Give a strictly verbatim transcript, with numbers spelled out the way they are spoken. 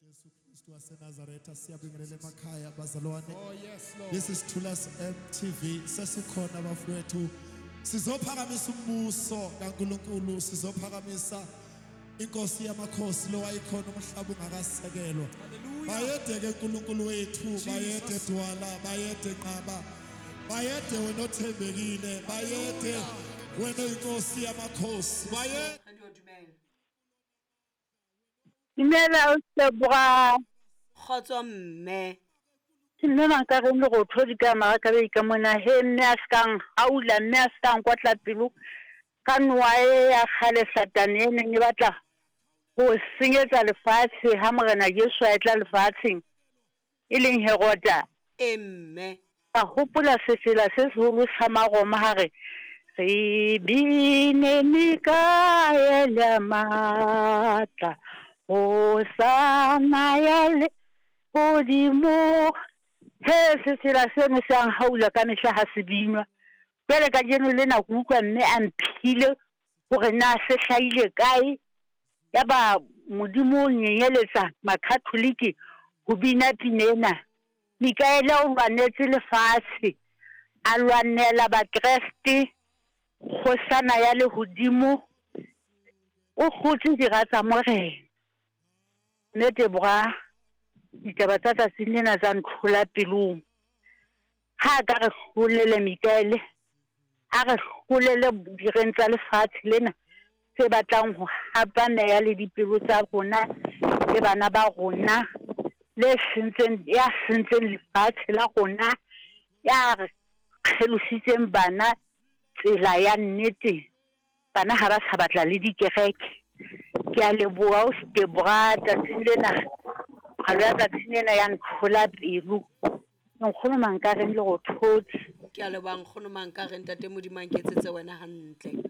Jesu Kristu waseNazaretha, siyabingelela emakhaya bazalwane. Oh, yes, Lord. This is Thulas M T V. Sesikhona bafowethu, sizophakamisa umbuso kaNkulunkulu, sizophakamisa inkosi yamakhosi lo wayikhona umhlaba ungakasekelwa. Hallelujah. Bayede ke uNkulunkulu wethu, bayede Dwala, bayede Nqaba, bayede wena othembekile, bayede wena inkosi yamakhosi, bayede. Radio, dumela. Dumela o Debra. Kgotso mme. Ke mme Mankareng le go thodi ka Marakabei ka mona he mme a sekang haula mme a sekang kwatla pelo ka noa e ya kgale Satane e neng e batla ho senyetsa lefatshe ha Morena Jesu a etla lefatsheng e leng Herota. E mme. Ka hopola sefela se seholo sa Maroma ha re re bine Mikaele matla hosana ya le hodimo. He sefela seno se a nhaula ka mehla ha se binwa. Jwale kajeno lena ke utlwa mme a mphile hore na se hlahile kae. Yaba Modimo o nyenyeletsa Makatholike ho bina pina ena. Mikaele o lwanetse lefatshe, a lwanela Bakreste, kgosana ya lehodimo, o kgotse dira tsa Morena. Mme Debra, ditaba tsa tsatsing lena tsa ntlhola pelong. Ha a ka re hlolele Mikaele, a re hlolele direng tsa lefatshe lena tse batlang ho hapa meya le dipelo tsa rona le bana ba rona, le sentseng ya sentseng lefatshe la rona, ya re kgelositseng bana tsela ya nnete. Bana ha ba sa batla le dikereke. Ke a leboha o Debra tsatsing lena. Kgalo ya tsatsing lena ya ntlhola pelo. Nkgono Mankareng le go thotse. Ke a leboha nkgono Mankareng, ntate Modimo a nketsetse wena hantle.